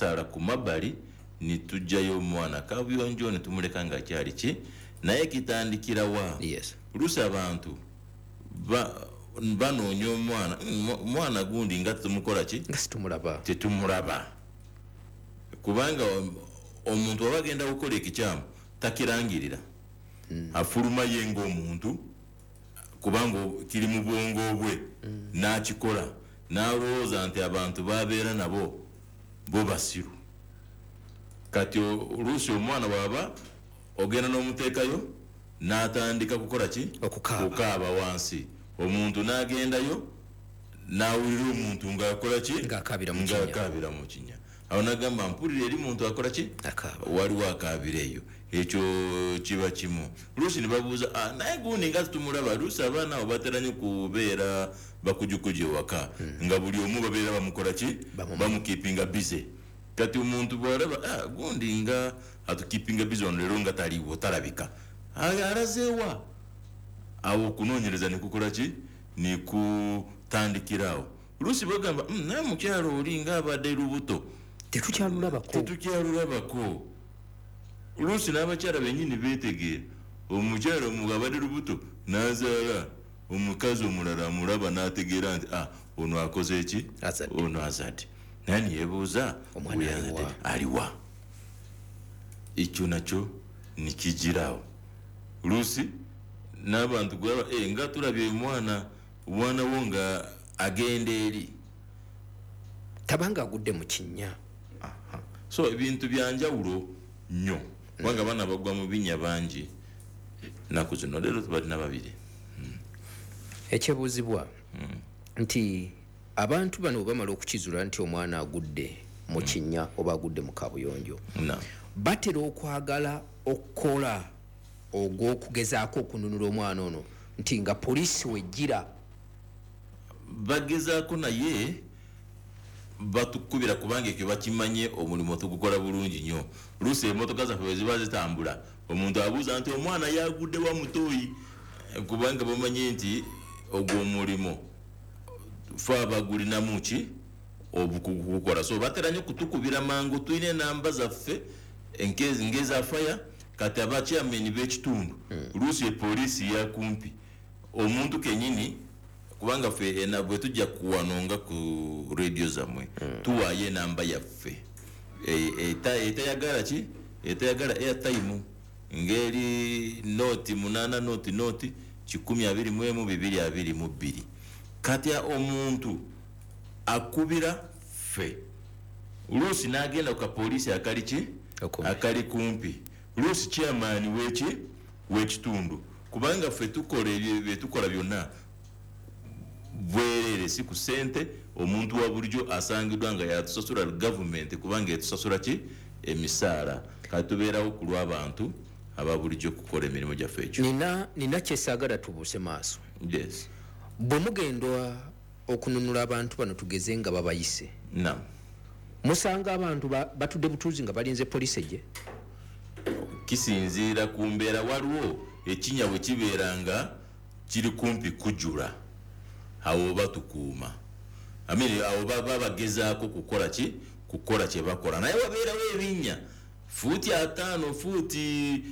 Tusala ku mabbali nitujjayo omwana kabuyonjo netumuleka nga akyali ki, naye kitandikira wa? Luusi abantu banoonya omwana, omwana gundi nga tetumukola ki? Nga situmulaba. Tetumulaba, kubanga omuntu aba agenda kukola ekikyamu takirangirira, afuluma ye ng'omuntu, kubanga kiri mu bwongo bwe, n'akikola n'alowooza nti abantu babeera nabo bo basiru. Kati oluusi omwana bw'aba ogenda n'omuteekayo n'atandika kukola ki? Okukaaba. Kukaaba wansi. Omuntu n'agendayo n'awulira omuntu ng'akola ki? Ng'akaabira mu kinnya. Ng'akaabira mu kinnya. Awo n'agamba, mpulira eri muntu akola ki? Akaaba. Waliwo akaabira eyo. Ekyo kiba kimu. Luusi ne babuuza, naye gundi nga tumulaba. Luusi abaana abo batera nnyo kubeera bakujukuju ewaka, nga buli omu babeera bamukola ki? Bamukeepinga busy. Kati omuntu bw'alaba, gundi nga atukeepinga busy ono leero nga taliiwo, talabika. Alazeewa? Awo okunoonyereza ne kukola ki? Ne kutandikira awo. Luusi bagamba, naye mukyala oli ng'abadde lubuto. Tetukyalulabako. Tetukyalulabako. Luusi n'abakyala bennyini beetegeera. Omukyala omu abadde lubuto n'azaala, omukazi omulala amulaba n'ategeera nti, ono akoze ki? Azadde. Ono azadde. Naye ne yeebuuza, Omwana we aliwa? yazadde aliwa? Ekyo nakyo ne kijiraawo. Luusi n'abantu gwaba, nga tulabye omwana wo nga agenda eri. Tabanga agudde mu kinnya. So ebintu bya njawulo nnyo, kubanga abaana bagwa mu binnya bangi nnaku zino. Leero tubalina babiri. Ekyebuuzibwa nti abantu bano bwe bamala okukizuula nti omwana agudde mu kinnya oba agudde mu kabuyonjo, batera okwagala okukola ogw'okugezaako okununula omwana ono nti nga poliisi wejjira. Bagezaako naye batukubira, kubanga ekyo bakimanye omulimu tugukola bulungi nnyo. Luusi emmotoka zaffe bwe ziba zitambula, omuntu abuuza nti omwana yagudde wa mutoyi, kubanga bamanye nti ogwo omulimu fe abagulinamu ki obukugu kugukola. So batera nnyo kutukubira mangu, tulina enamba zaffe ng'eza fire. Kati aba chairman b'ekitundu, luusi epoliisi yakumpi omuntu kennyini, kubanga ffe bwe tujja kuwano nga ku radio zammwe, tuwaayo enamba yaffe etayagala ki? Etayagala airtime, ng'eri 08 00 121 222. Kati omuntu akubira ffe, luusi n'agenda ku kapoliisi akali ki? Okumpi. Akali kumpi. Luusi chairman w'eki? W'ekitundu, kubanga ffe tukola ebyo bye tukola byonna bwereere, si ku ssente. Omuntu wa bulijjo asangiddwa nga yatusasula gavumenti, kubanga etusasula ki? Emisaala. Kati tubeerawo ku lw'abantu aba bulijjo kukola emirimu gyaffe ekyo. Nina kyesaagala tubuuse maaso. Bwe mugenda okununula abantu bano, tugeze nga babayise, musanga abantu batudde butuuzi nga balinze poliisi ejje? Kisinziira ku mbeera. Waliwo ekinnya bwe kibeera nga kiri kumpi kujula, awo batukuuma. Awo baba bagezaako kukola ki? Kukola kye bakola. Naye wabeerawo ebinnya fuuti 50, fuuti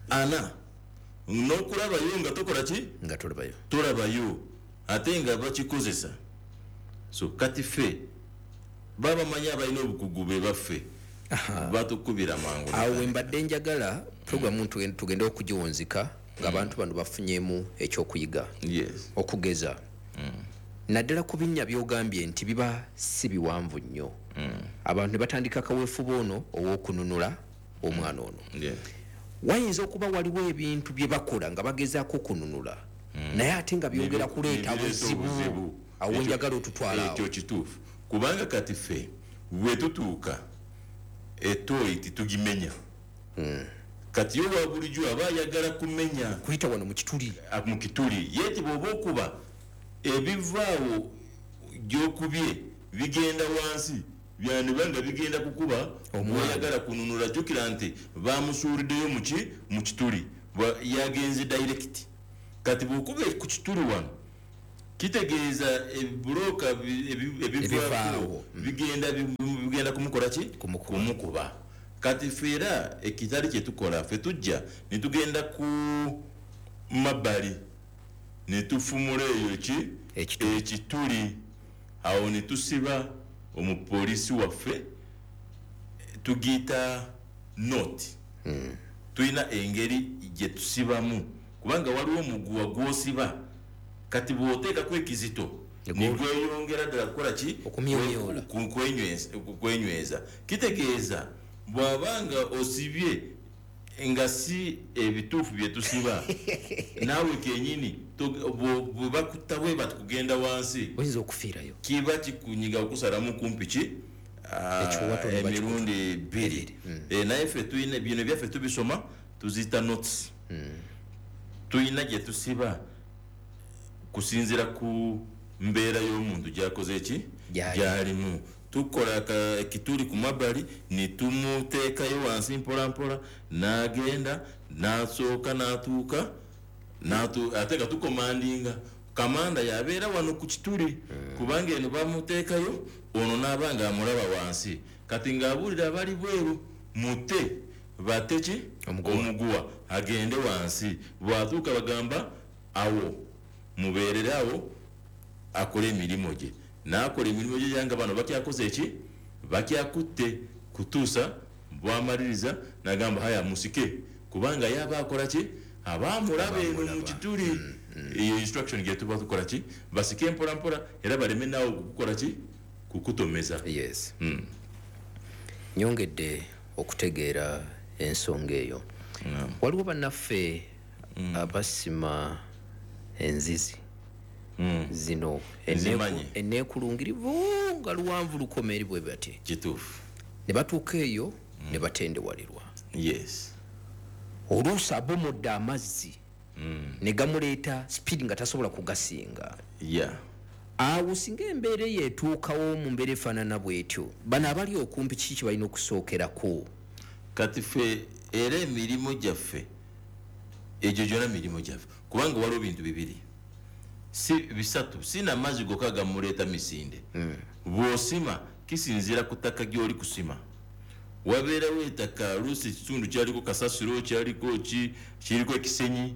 40, n'okulabayo nga tokola ki? Nga tolabayo. Tolabayo, ate nga bakikozesa. So kati ffe baba bamanyi abalina obukugu be baffe, batukubira mangu. Awo we mbadde njagala programu tugende okugiwunzika ng'abantu bano bafunyemu ekyokuyiga. Okugeza naddala ku binnya by'ogambye nti biba si biwanvu nnyo, abantu ne batandika kaweefube ono ow'okununula omwana ono. Wayinza okuba waliwo ebintu bye bakola nga bagezaako okununula, naye ate nga byongera kuleeta Nebireeta buzibu. obuzibu. Awo njagala otutwala awo. Ekyo kituufu, kubanga kati ffe bwe tutuuka etoyi titugimenya. Kati yo wa bulijjo aba ayagala kumenya, kuyita wano mu kituli. Mu kituli ye ti bw'oba okuba ebivaawo gy'okubye bigenda wansi, byandiba nga bigenda kukuba Omwana. Bw'oyagala kununula, jjukira nti bamusuuliddeyo mu kituli, yagenze direct. Kati bw'okuba ku kituli wano Kitegeeza ebibuloka ebivaawo bigenda kumukola ki? Kumukuba. Kati ffe era ekitali kye tukola, ffe tujja ne tugenda ku mabbali ne tufumula eyo ki? Ekituli. Awo ne tusiba omupoliisi waffe, tugiyita knot. Tulina engeri gye tusibamu, kubanga waliwo omuguwa gw'osiba, kati bw'oteekako ekizito nigweyongera ddala kukola ki? Kwenyweza. Kitegeeza bw'abanga osibye nga si ebituufu bye tusiba, naawe kenyini bwe bakutta bwe bati kugenda wansi, oyinza okufiirayo, kiba kikunyiga okusalamu kumpi ki emirundi 2. Naye ffe tulina bino byaffe tubisoma, tuziyita notes. Tulina gye tusiba kusinziira ku mbeera y'omuntu gy'akoze ki? Gy'alimu. Tukola ekituli ku mabbali ne tumuteekayo wansi mpola mpola, n'agenda n'asooka n'atuuka, ate nga tukomandinga. Kamanda yabeera wano ku kituli, kubanga eno bamuteekayo, ono n'aba nga amulaba wansi. Kati ng'abuulira abali bweru, mute bate ki? Omuguwa agende wansi. Bw'atuuka bagamba awo mubeerere awo akole emirimu gye. N'akola emirimu gye nga bano bakyakoze ki? Bakyakutte kutuusa bw'amaliriza n'agamba haya musike, kubanga yaba akola ki? Aba amulaba eno mu kituli. Eyo instruction gye tuba tukola ki? Basike mpola mpola era baleme naawe kukukola ki? Kukutomeza. Yes. Nyongedde okutegeera ensonga eyo. Waliwo bannaffe abasima enzizi zino enneekulungirivu nga luwanvu lukoma eri bwe bati. Kituufu. Ne batuuka eyo ne batendewalirwa. Yes. Oluusi abomodde amazzi ne gamuleeta speed nga tasobola kugasinga. Yeah. Awo singa embeera eyo etuukawo mu mbeera efaanana bw'etyo, bano abali okumpi kiki kye balina okusookerako? Kati ffe era emirimu gyaffe egyo gyonna mirimu gyaffe, kubanga waliwo bintu bibiri si bisatu, sina amazzi gokka gamuleeta misinde. Bw'osima kisinziira ku ttaka gy'oli kusima. Wabeerawo ettaka luusi ekitundu kyaliko kasasiro, kyaliko ki, kiriko ekisenyi,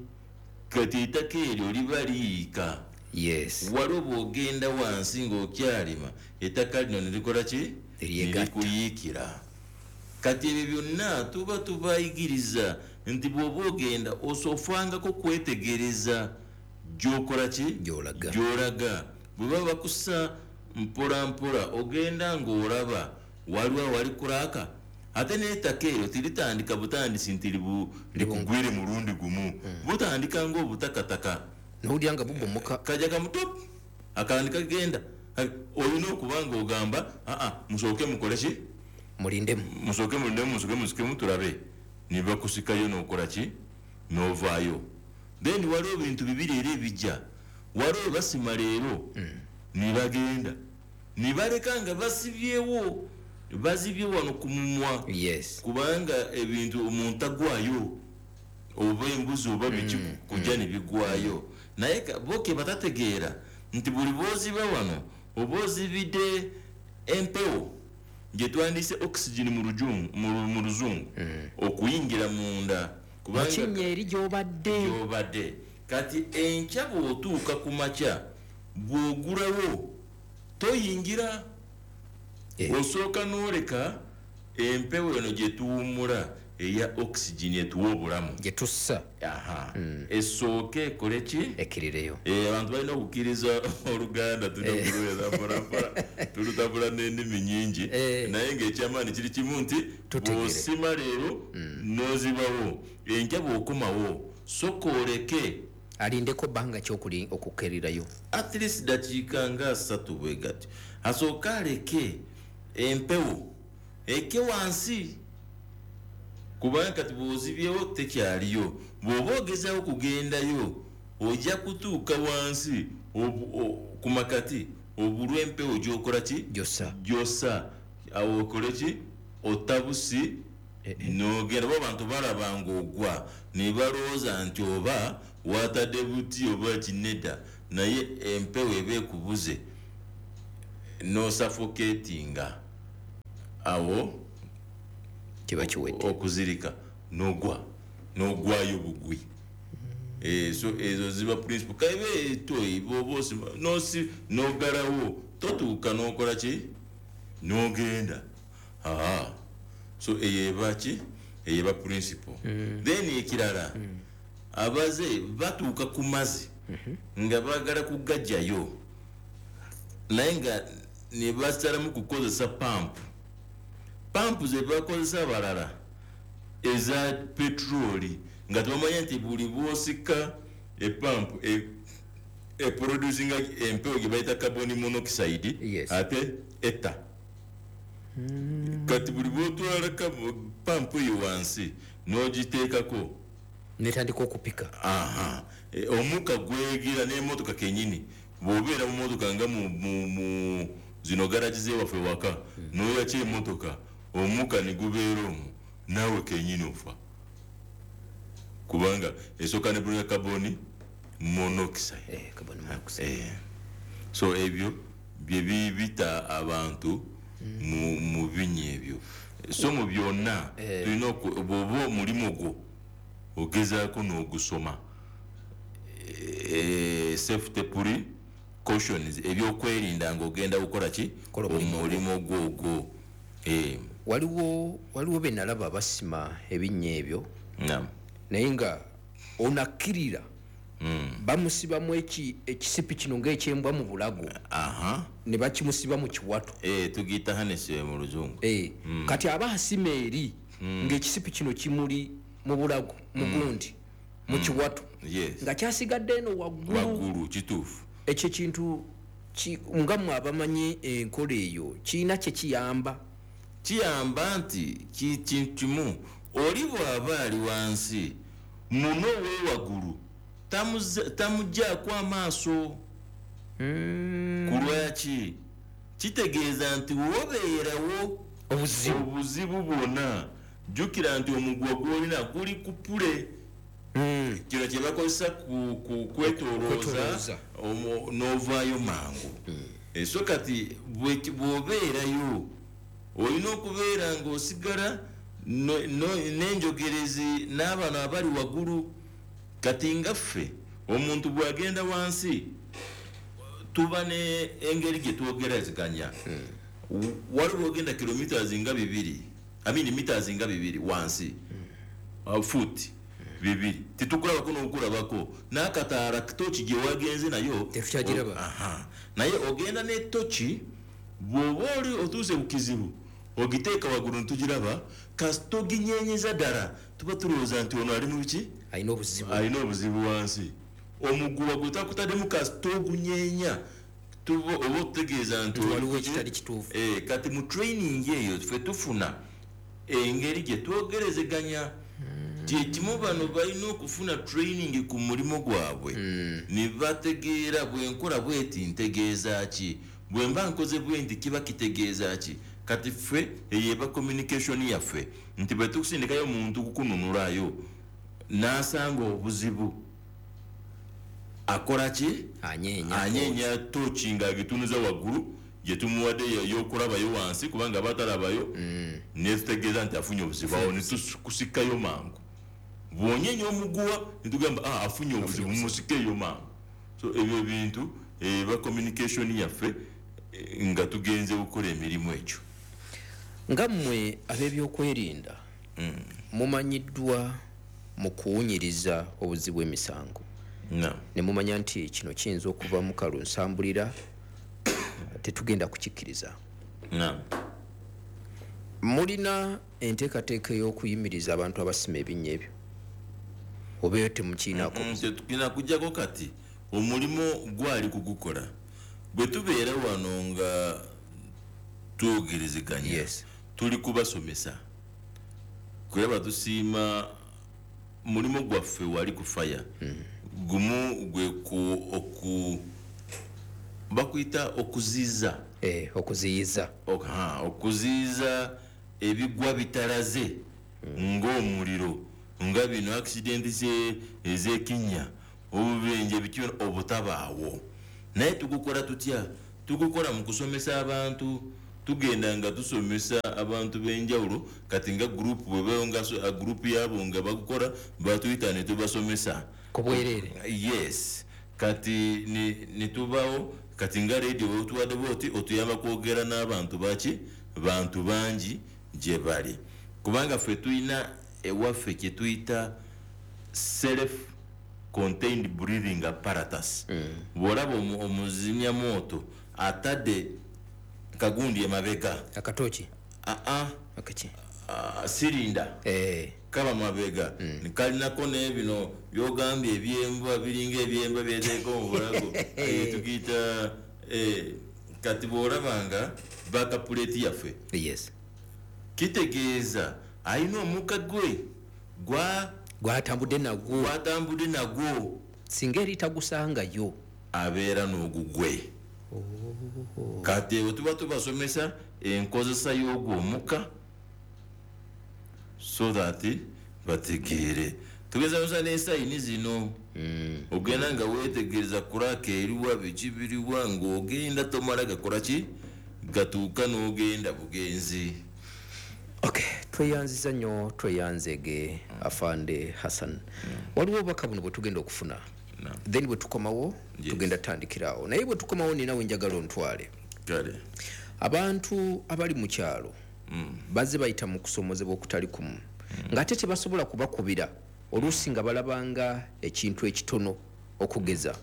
kati ettaka eryo liba liyiika. Yes. Waliwo bw'ogenda wansi ng'okyalima, ettaka lino ne likola ki? Likuyiikira. Kati ebyo byonna tuba tubayigiriza nti bw'oba ogenda osofangako kwetegereza gy'okola ki? Gy'olaga. Bwe baba bakussa mpola mpola ogenda ng'olaba waliwo awali kuraaka, ate n'ettaka eryo tiritandika butandisi nti likugwire mulundi gumu, butandika ng'obutakataka n'owulira nga bubomoka, kajja kamuto akandika kagenda. Olina okuba ng'ogamba aa musooke mukole ki? Mulindemu. Musooke mulindemu, musooke musikemu tulabe. Ne bakusikayo n'okola ki? N'ovaayo. Then waliwo ebintu bibiri era ebijja. Waliwo basima leero ne bagenda ne baleka nga basibyewo, bazibye wano ku mumwa. Yes. Kubanga ebintu omuntu agwayo oba embuzi oba biki kujja ne bigwayo. Naye bo ke batategeera nti buli bw'oziba wano oba ozibidde empewo gye twandiyise oxygen mu luzungu okuyingira munda, kubanga kinnya eri gy'obadde. Kati enkya bw'otuuka ku makya bw'ogulawo toyingira, osooka n'oleka empewo eno gye tuwummula eya oxygen etuwa obulamu gye tussa. Esooke ekole ki? Ekkirireyo. Abantu balina okukkiriza Oluganda, tulina okuluweza mpolampola, tulutabula n'ennimi nnyingi, naye ng'ekyamaanyi kiri kimu nti bw'osima leero n'ozibawo, enkya bw'okomawo sooka oleke alindeko bbanga ki okukkerirayo? At least dakiika nga 3 bwe gati, asooke aleke empewo eke wansi, kubanga kati bw'ozibyewo tekyaliyo. Bw'oba ogezaako kugendayo ojja kutuuka wansi ku makati obulwa empewo gy'okola ki? Gy'ossa. Awo okole ki? Otabusi n'ogenda. Bo abantu balaba ng'ogwa ne balowooza nti oba watadde buti oba kinedda, Naye empewo eba ekubuze n'osuffocatinga, awo kiba kiwedde. Okuzirika n'ogwa, n'ogwayo bugwi. So ezo ziba principle. Kaibe toyi bw'oba osima nosi n'oggalawo, totuuka n'okola ki, n'ogenda. Aha, so eyo eba ki, eyo eba principle. Then ekirala, abaze batuuka ku mazzi nga baagala kugajjayo, naye nga ne basalamu kukozesa pampu. Pampu ze bakozesa abalala eza petroli, nga tebamanya nti buli bw'osika epampu eproducinga empewo gye bayita carbon monoxide, ate etta. Kati buli bw'otwala pampu eyo wansi n'ogiteekako, netandika okupika. Aha, omukka gwegira n'emmotoka kenyini. Bw'obeera mu mmotoka nga mu zino garagi z'ewaffe waka, n'oyakya emmotoka, omukka ne gubeera omwo, naawe kenyini ofa, kubanga esooka ne bulina carbon monoxide. Carbon monoxide. So ebyo bye bibita abantu mu binnya ebyo. So mu byonna tulina bw'oba omulimu gwo ogezaako n'ogusoma, safety precautions, ebyokwerinda ng'ogenda kukola ki, Kola omulimu. Omulimu gwo ogwo. Waliwo be nalaba basima ebinnya ebyo, naye nga onakkirira, bamusibamu ekisipi kino ng'ekyembwa mu bulago, ne bakimusiba mu kiwato. Tugiyita harness mu Luzungu. Kati aba asima eri ng'ekisipi kino kimuli mu bulago, mu gundi, mu kiwato, nga kyasigadde eno waggulu. Waggulu, kituufu. Ekyo kintu nga mmwe abamanyi enkola eyo, kirina kye kiyamba? Kiyamba nti kintu kimu, oli bw'aba ali wansi muno weewaggulu tamuggyako amaaso. Ku lwaki? Kitegeeza nti wobeerawo obuzibu, obuzibu bwonna, jjukira nti omugwa gw'olina guli ku pulley. Kino kye bakozesa ku kwetoolooza, Kwetoolooza. n'ovaayo mangu. So kati bw'obeerayo olina okubeera ng'osigala n'enjogerezi n'abano abali waggulu. Kati nga ffe omuntu bw'agenda wansi tuba ne engeri gye twogerezeganya. Waliwo ogenda kilometers nga 2, I mean meters nga 2 wansi, foot 2, tetukulabako n'okulabako n'akataala toki gye wagenze nayo Tetukyagiraba. Aha. Naye ogenda ne toki, bw'oba oli otuuse ku kizibu ogiteeka waggulu ntugiraba, kasita oginyenyeza ddala tuba tulowooza nti ono ali mu biki? Alina obuzibu. Alina obuzibu wansi. Omuguwa gwe takutaddemu kasita ogunyeenya, tuba oba otutegeeza nti Nti waliwo oli ekitali kituufu. Kati mu training eyo ffe tufuna engeri gye twogerezeganya. Kyekimu bano balina okufuna training ku mulimu gwabwe, ne bategeera bwe nkola bweti ntegeeza ki, bwe mba nkoze bwe nti kiba kitegeeza ki. Kati ffe eyo eba communication yaffe nti bwe tukusindikayo omuntu kukununulayo n'asanga obuzibu akola ki? Anyeenya. Anyeenya toki ng'agitunuza waggulu gye tumuwadde ey'okulabayo wansi, kubanga aba atalabayo, ne tutegeeza nti afunye obuzibu, awo ne tukusikayo mangu. Bw'onyeenya omuguwa ne tugamba, afunye obuzibu, mumusikeeyo mangu. So ebyo bintu eba communication yaffe, nga tugenze okukola emirimu egyo. Nga mmwe ab'ebyokwerinda, mumanyiddwa mu kuwunyiriza obuzibu emisango. Ne mumanya nti kino kiyinza okuva mu kalunsambulira, tetugenda kukikkiriza. Mulina enteekateeka ey'okuyimiriza abantu abasima ebinnya ebyo? Oba eyo temukiinaako? Tetulina kuggyako kati omulimu gwali kugukola. Bwe tubeera wano nga twogerezeganya, tuli kubasomesa. Kulaba tusiima mulimu gwaffe wali ku fire. Gumu gwe ku, oku, bakuyita okuziiza. Okuziyiza. Okuziyiza ebigwa bitalaze ng'omuliro, nga bino accident ez'ekinnya. Obubenje biki obutabaawo. Naye tugukola tutya? Tugukola mu kusomesa abantu. Tugenda nga tusomesa abantu b'enjawulo. Kati nga group bwe nga group yabo nga bagukola batuyita ne tubasomesa ku bwereere. Yes, kati ni tubawo. Kati nga radio bwe bwoti otuyamba kwogera n'abantu baki, bantu bangi gye bali, kubanga ffe tulina ewaffe kye tuyita self contained breathing apparatus. Bw'olaba omuzimyamwoto atadde kagundi emabega, akatoki, aa akaki, sirinda kaba mabega, kalinako n'ebino byogambye ebyembwa, biringa ebyembwa byeteeka mu bulago, tukiyita. Kati bw'olabanga bakapuleeti yaffe, yes, kitegeeza alina omukka gwe gwatambudde nagwo, gwatambudde nagwo. Singa eri tagusangayo abeera n'ogugwe. Kati bwe tuba tubasomesa enkozesa y'ogwo omukka so that bategeere. Tugeza n'esayini zino, ogenda nga weetegereza kuraka eriwa, biki biriwa, ng'ogenda tomala gakola ki, gatuuka n'ogenda bugenzi. Okay, tweyanziza nnyo, tweyanzege Afande Hassan. Waliwo obubaka buno bwe tugenda okufuna, then bwe tukomawo tugenda tutandikirawo. Naye bwe tukomawo ninawe njagala ontwale. Kale. Abantu abali mu kyalo bazze bayita mu kusomozebwa okutali kumu, ng'ate tebasobola kubakubira, oluusi nga balabanga ekintu ekitono. Okugeza,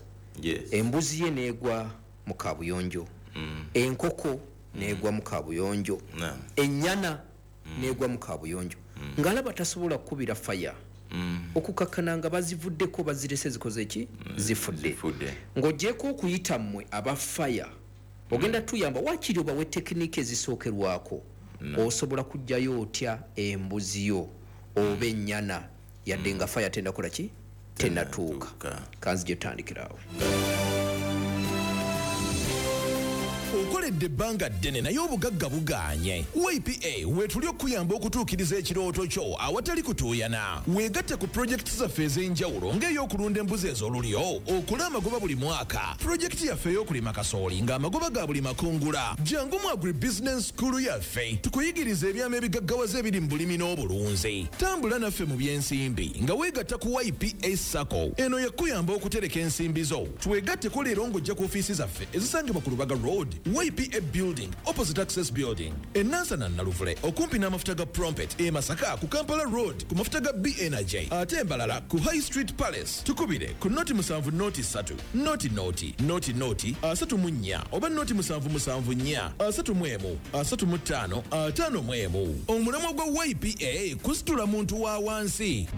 embuzi ye neegwa mu kabuyonjo, enkoko neegwa mu kabuyonjo, ennyana neegwa mu kabuyonjo, ng'alaba tasobola kukubira faya, okukakkana nga bazivuddeko, bazirese zikoze ki, zifudde. Ng'ogyeko okuyita mmwe aba faya, ogenda tuyamba waakiri obawe tekiniki ezisookerwako. Osobola kuggyayo otya embuzi yo oba ennyana yadde nga faya tennakola ki, tennatuuka? Kanzije tutandikirawo. Okoledde ebbanga ddene naye obugagga bugaanye. YPA weetuli okuyamba okutuukiriza ekirooto kyo awatali kutuuyana. Weegatte ku pulojekiti zaffe ez'enjawulo ng'ey'okulunda embuzi ez'olulyo, okola amagoba buli mwaka, pulojekiti yaffe ey'okulima kasooli ng'amagoba ga buli makungula. Jangu mu Agribusiness School yaffe tukuyigiriza ebyama ebigaggawaza ebiri mu bulimi n'obulunzi. Tambula naffe mu by'ensimbi nga weegatta ku YPA SACCO. Eno yakuyamba okutereka ensimbi zo. Twegatteko leero ng'ojja ku ofiisi zaffe ezisangibwa ku Lubaga Road, YPA Building, opposite Access Building, e Nansana Naluvule, okumpi n'amafuta ga Prompet, e Masaka ku Kampala Road ku mafuta ga B Energy, ate Mbarara ku High Street Palace. Tukubire ku 070 3 0 0 0 34 oba 077 4 31 35 51. Omulamwa gwa YPA kusitula muntu wa wansi.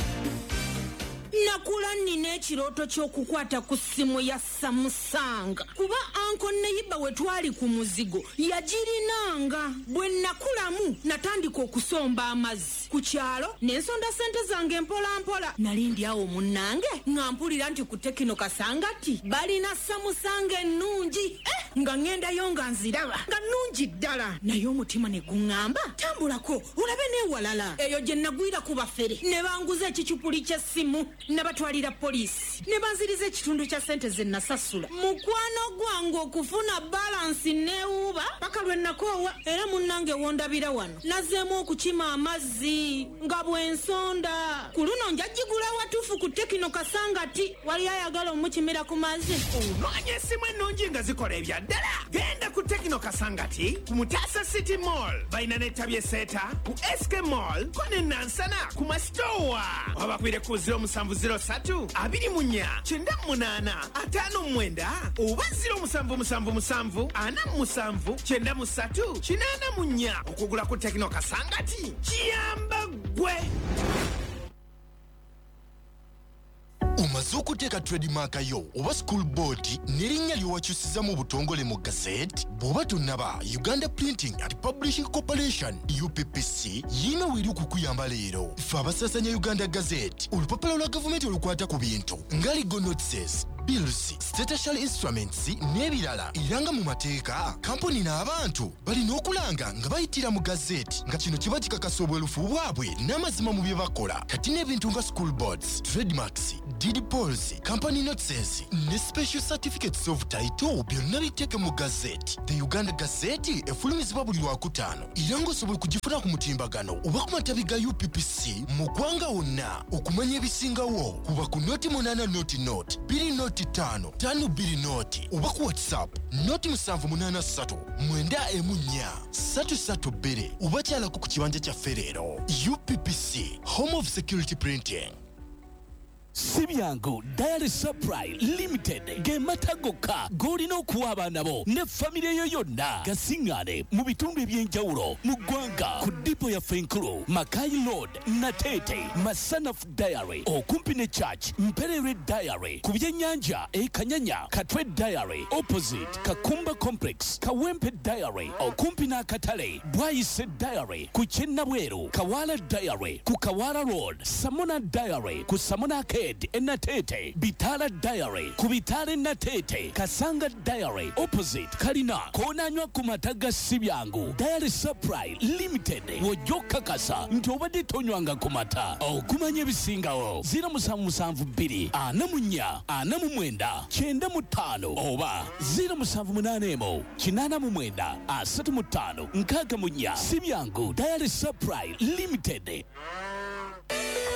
Nakula nina ekirooto ky'okukwata ku ssimu ya Samsung, kuba anko neyiba we twali ku muzigo yagirinanga. Bwe nakulamu natandika okusomba amazzi ku kyalo, ne nsonda ssente zange mpola mpola. Nali ndi awo munnange nga mpulira nti ku Tekino Kasangati balina Samsung ennungi, nga ŋŋendayo nga nziraba nga nnungi ddala, naye omutima ne guŋŋamba tambulako olabe n'ewalala. Eyo gye nagwira ku bafere ne banguza ekicupuli ky'essimu, nabatwalira poliisi ne banziriza ekitundu kya ssente ze nasasula. Mukwano gwange okufuna balansi neewuuba paka lwe nakoowa. Era munnange wondabira wano nazzeemu okukima amazzi nga bwe nsonda. Ku luno njagigula watuufu ku Tekino Kasangati. Wali ayagala omukimira ku mazzi? Onoonya essimu ennungi nga zikola ebya ddala? Genda ku Tekino Kasangati ku Mutasa City Mall, balina n'ettabi e Seeta ku SK Mall, ko ne Nansana ku Masitowa. Obakwire ku 0703 24 98 59 oba 0777 47 93 84. Okugula ku Tekino Kasangati kiyamba ggwe. Omaze okuteeka trademark yo oba school board n'erinnya ly'owakyusiza mu butongole mu gazette? Bw'oba tonnaba, Uganda Printing and Publishing Corporation UPPC yiina weeri okukuyamba leero. Ffe abasaasanya Uganda Gazette, olupapula lwa gavumenti olukwata ku bintu nga legal notices, bills, statutory instruments n'ebirala. Era nga mu mateeka, kampuni n'abantu balina okulanga nga bayitira mu gazette, nga kino kiba kikakasa obwerufu bwabwe n'amazima mu bye bakola. Kati n'ebintu nga school boards, trademarks, Deed polls, company notices ne special certificates of title byonna biteeke mu Gazette. The Uganda Gazette efulumizibwa buli Lwakutaano era ng'osobola okugifuna ku mutimbagano oba ku matabi ga UPPC mu ggwanga wonna. Okumanya ebisingawo kuba ku 08 00 20 5 5 2 0 oba ku WhatsApp 0 783 914 332 oba kyalako ku kibanja kyaffe leero. UPPC, home of security printing. Si byangu. Dairy Supply Limited ge mata gokka g'olina okuwa abaana bo ne famire yo yonna. Gasiŋŋaane mu bitundu eby'enjawulo mu ggwanga ku depot yaffe enkulu, Makai Road, Nateete, Masanafu Dairy okumpi ne church, Mpererwe Dairy ku byennyanja e Kanyanya, Katwe Dairy opposite Kakumba Complex, Kawempe Dairy okumpi n'akatale, Bwayise Dairy ku Kyennabweru, Kawala Dairy ku Kawala Road, Samona Dairy ku Samona Arcade e Nateete, Bitala Dairy ku Bitala e Nateete, Kasanga Dairy opposite Kalina. Koonanywa ku mata ga Sibyangu Dairy Supply Limited, wojja okukakasa nti obadde tonywanga ku mata. Okumanya ebisingawo, 0772 44 49 95 oba 0781 89 35 64. Sibyangu Dairy Supply Limited.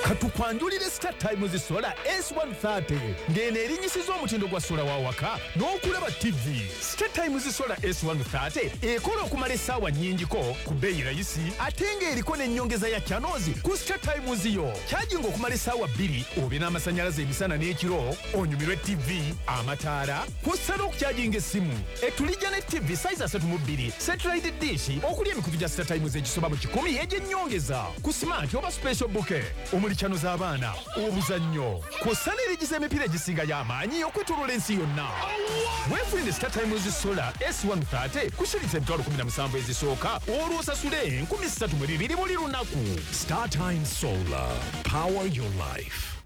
Katukwanjulire Star Times Solar S130, ng'eno erinyisiza omutindo gwa solar wa waka n'okulaba TV. Star Times Solar S130 ekola okumala essaawa nnyingiko ku bbeeyi rayisi, ate ng'eriko n'ennyongeza ya channels ku Star Times yo. Kyajinga okumala essaawa 2 obe n'amasannyalaze emisana n'ekiro, onyumirwe TV, amataala, kw'ossa n'okukyajinga essimu. Etulijja ne TV size 32, satellite dish okuli emikutu gya Star Times egisoba mu 100 egy'ennyongeza ku smart oba special bouquet omuli channel z'abaana, obuzannyo, kw'ossa n'erigiza emipiira egisinga y'amaanyi okwetooloola ensi yonna. Weefunire Star Times Solar S130 ku shilingi 17,000 ezisooka, olwo osasule 3,200 buli lunaku. Star Times Solar. Power your life.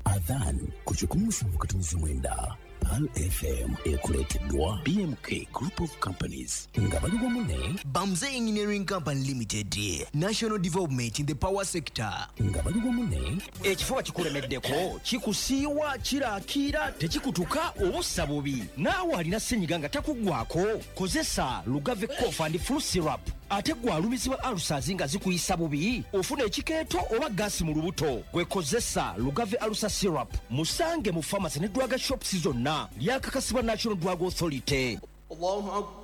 Adhan ku 107.9 Pearl FM ekuleeteddwa BMK Group of Companies nga bali wamu ne Bamze Engineering Company Limited, national development in the power sector. Nga bali wamu ne Ekifuba kikulemeddeko, kikusiiwa, kirakiira, tekikutuka oba ossa bubi. Naawe alina senyiga nga takuggwako, kozesa Lugave Cough and Flu Syrup. Ate gwe alumizibwa ulcers nga zikuyisa bubi, ofuna ekikeeto oba gaasi mu lubuto, gwe kozesa Lugave Ulcer Syrup. Musange mu pharmacy ne drug shops zonna. Lyakakasibwa National Drug Authority.